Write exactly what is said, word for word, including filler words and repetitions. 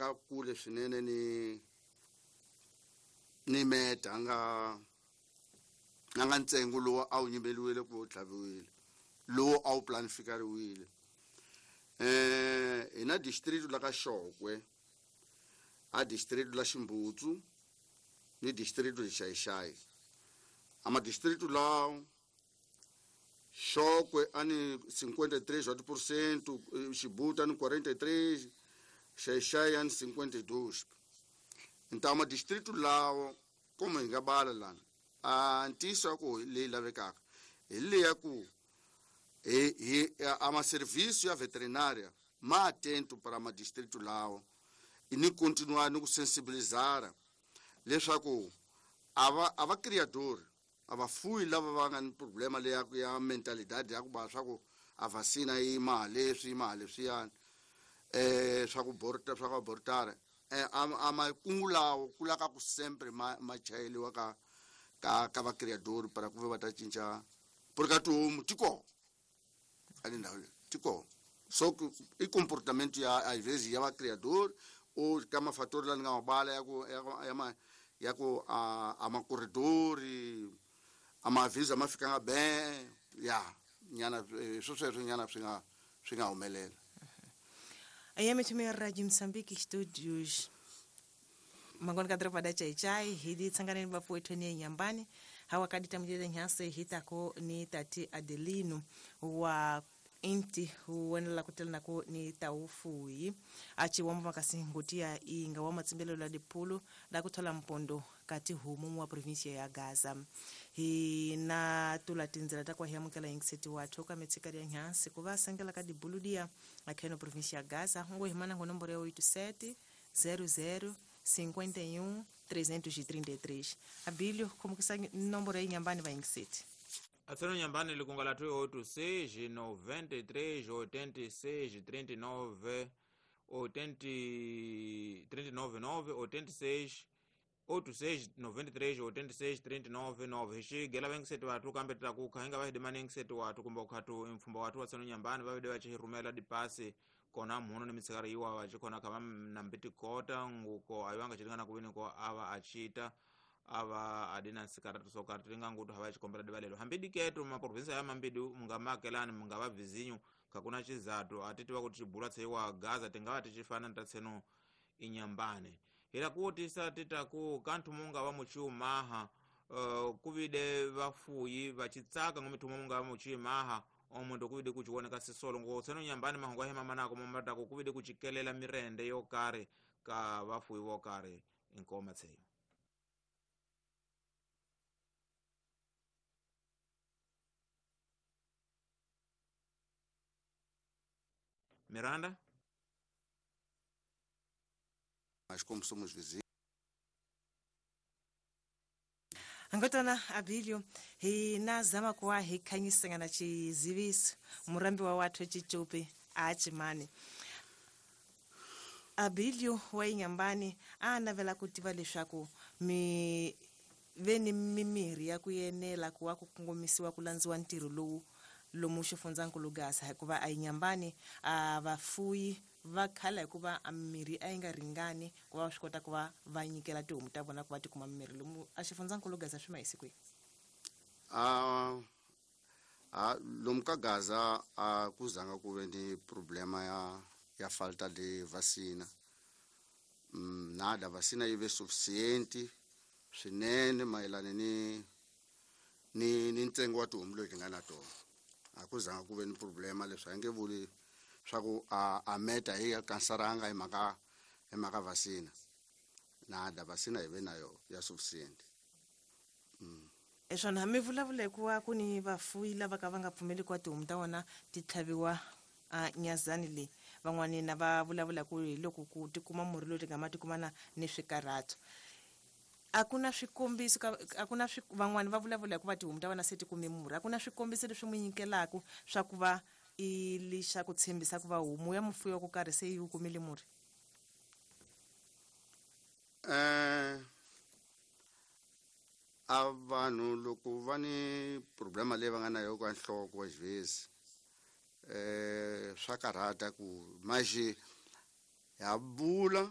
nga kule swinene ni ni meta nga a nga ntsengo lowu a wu nyimeliwile ku tlhaviwile lowu a wu planifikariwile. Eh hi na district la ka Xokwe, a district la Ximbutsu ni district la Xaixai. A ma district lawo Xokwe a ni cinquenta e três por cento, Xibuta ni quarenta e três, Xaixai a ni cinquenta e dois. Então ma distrito lawo como hi nga bala lana a ntiyiso ya ku leyi lavekaka hi leya ku hi hi a ma serviço ya veterinária ma atento para ma distrito lawo e ni continuar ni ku sensibilizar leswaku a va a va criador a va fuyi lava va nga ni problema leya ya mentalidade ya ku ba swa ku a vacina yi ma leswi ma leswiyani eh swa ku borta swa ku abortara eh a ma kungu lawo ku laka ku sempre ma ma chayeliwa ka ka ka va criador para ku va ta cinca porque tihomu ti kona a le ndhawu leyi ti kona. So i comportamento ya às vezes ya va criador ou ka mafatori la ni nga mabala ya ku ya ma ya ku a a macorridori a maavisa ma fikanga ben ya nyana swo sweswo nyana swi nga swi nga humelela. A M tumia Radio Mozambique Studios mangoni kadropa da chai chai hidi tsangane bafu wetu ni nyambani hawa kadi tamjele nyase hitako ni tati Adelino wa inti huwenela kutela nako ni taufuyi achi wamba makasingotia inga wa matsimbelo la dipulu la kuthola mpondo kati humu wa provincia ya Gaza hi na tula tinzela takwa hiamukela ingiseti wathu ka metsikari ya nyase kuva sangela ka dibuludia akheno provincia ya Gaza ngo himana ngo nomboro ya oito sete zero zero cinquenta e um trezentos e trinta e três. Abílio, como que sai nomboro aí nyambani va ingiseti? Atseno nyambani likunga la oito seis noventa e três oitenta e seis trinta e nove oitenta trinta e nove nove oitenta e seis oito seis noventa e três oitenta e seis trinta e nove nove. Hixigela vengiseti vathu kambe titaku hinga vahidimani ngiseti wathu kumbe ukhatu mfumba wathu watseno nyambani vavide vachihirumela dipasi kona mhuno ni mitsikari iwa vachikhona khava nambitikota nguko ayiwanga chiringana kuvini ko ava achita ava adina nsikaratu sokari tiringa ngutu hava chikombela divalelo hambi diketo maprovinsia ya mambidi mungamakelani mungava vizinyu kakuna chizatu atitiwa kuti chibula tseiwa Gaza tingava tichifana ntatseno inyambane ila kuotisa titaku kanthu munga wa muchiumaha uh, kuvide vafuyi vachitsaka ngomithumo munga wa muchiumaha omundu kuvide kuchioneka sisolo ngo tseno nyambani mahongo ahema manako momatako kuvide kuchikelela mirende yokari ka vafuyi vokari inkoma tseyo. Miranda? Mas como somos vizinhos. Angotona Abílio, hi na zama kuwa hi khanyisangana chiziviso murambi wa wathu chichupi achimani. Abílio wa inyambani a navela kutiva leswaku mi veni mimiri ya kuyenela kuwa kukongomisiwa kulandziwa ntirho lowu lomu xifundzankulu Gaza hikuva a inyambani a vafuyi va khala hikuva a mirhi a yi nga ringani ku va swi kota ku va va nyikela tihomu ta vona ku va ti kuma mirhi lomu a xifundzankulu Gaza swi ma hi siku a a lomu ka Gaza a ku zanga ku ve ni problema ya ya falta de vacina. Mm, nada vacina yi ve suficiente swinene mayelana ni ni ni ntsengo wa tihomu leti nga na tona. A ku zanga ku ve ni problema leswi a nge vuli swa ku a a meta hi kansaranga hi mhaka hi mhaka vacina. Nada vacina hi ve na yo ya suficiente. Mm. Eswona mi vulavula hikuva ku ni vafuyi lava ka va nga pfumeli ku tihomu ta vona ti tlhaviwa a nyazani leyi van'wani na va vulavula ku hi loko ku ti kuma murhi lowu ti nga ma ti kumana ni swikarhato. A ku na swikombiso a ku na van'wani va vulavula hikuva tihomu ta vona se ti kume murhi a ku na swikombiso leswi mu nyikelaka swa ku va i lixa ku tshembisa ku va homu ya mufuyi wa ku karhi se yi wu kumile murhi. Eh a vanhu loko va ni problema leyi va nga na yo ka nhloko wa xivezi eh swa karhata ku maji ya bula